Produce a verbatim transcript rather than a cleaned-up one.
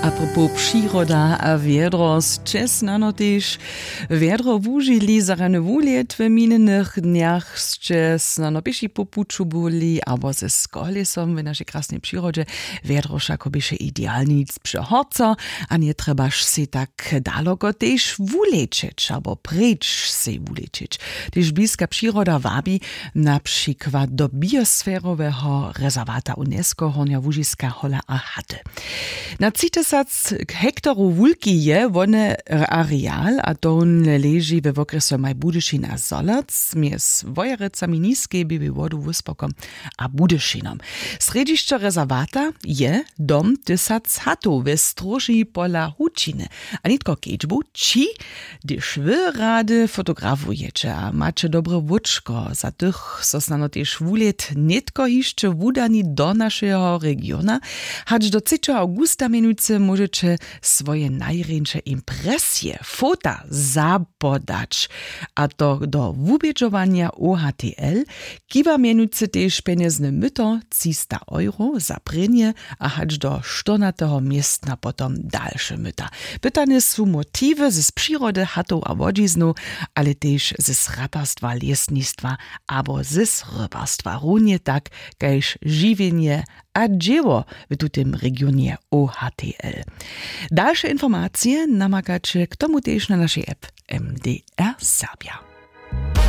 Apropos přiroda a wjedro, sće snano tež wjedro wužili za rany wulět w minjenych dnjach? Sće snano pěši po puću byli abo ze skolesom w našej krasnej přirodźe? Wjedro wšako běše idealnic při horco, a njetrjebaš sej tak daloko tež wulečeć abo preč sej wulečeć. Tež bliska přiroda wabi, na přikład do biosferoweho rezerwata UNESCO Hornja Łužiska, Hola a Haty. Na tři tysac hektarow wulki je wone areal, a to wón leži we wokrjesomaj Budyšin a Zholac, mjez Wojerecami, Niskej Běłej Wodu, Wóspokom a Budyšinom. Srjedźišćo rezerwata je dom tysac hatow we stróži pola hučiny. A nětko kedźbu ći, hdyž wy rady fotografujeće a maće dobre łóčko, za tych so snano tež wulět nětko hišće wudani do našeho regiona, hač do třećeho awgusta mjenujcy móžeće swoje najrjeńše impresije, fota zapodać, a to do wubědźowanja O H T L. Kiwa mjenujcy tež pjenjezne myto třista euro za prěnje a hač do štyrnateho městna potom dalše myta. Pytane su motiwy z přirody, hatow a łodźiznow, ale tež z ratarstwa, lěsnistwa abo z rybarstwa, runje tak kaž žiwjenje a dźěło w tutym regionje O H T L. Dalše informacije namakaće k tomu tež na našej app M D R Serbja.